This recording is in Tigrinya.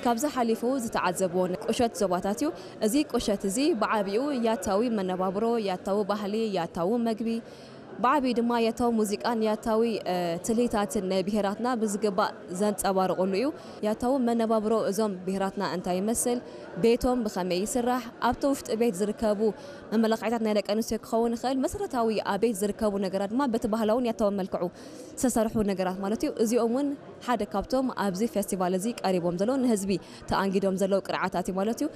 ካብዚ ሓሊፉ ዝተዓዘብዎ ቁሸት ዞባታት እዩ። እዚ ቁሸት እዚ ብዓቢኡ ያታዊ መነባብሮ፣ ያታዊ ባህሊ፣ ያታዊ መግቢ፣ ብዓቢኡ ድማ ያታዊ ሙዚቃን ያታዊ ትልሂታትን ናይ ብሄራትና ብዝግባእ ዘንጸባርቑሉ እዩ። ያታዊ መነባብሮ እዞም ብሄራትና እንታይ ይመስል፣ ቤቶም ብኸመይ ይስራሕ፣ ኣብቲ ውሽጢ ቤት ዝርከቡ መመላኽዒታት ናይ ደቂ ኣንስትዮ ክኸውን ይኽእል፣ መሰረታዊ ኣብ ቤት ዝርከቡ ነገራት ድማ በቲ ባህላውን ያታውን መልክዑ ዝተሰርሑ ነገራት ማለት እዩ። እዚኦም እውን ሓደ ካብቶም ኣብዚ ፌስቲቫል እዚ ቀሪቦም ዘለዉ ንህዝቢ ተኣንጊዶም ዘለዉ ቅርዓታት እዩ ማለት እዩ።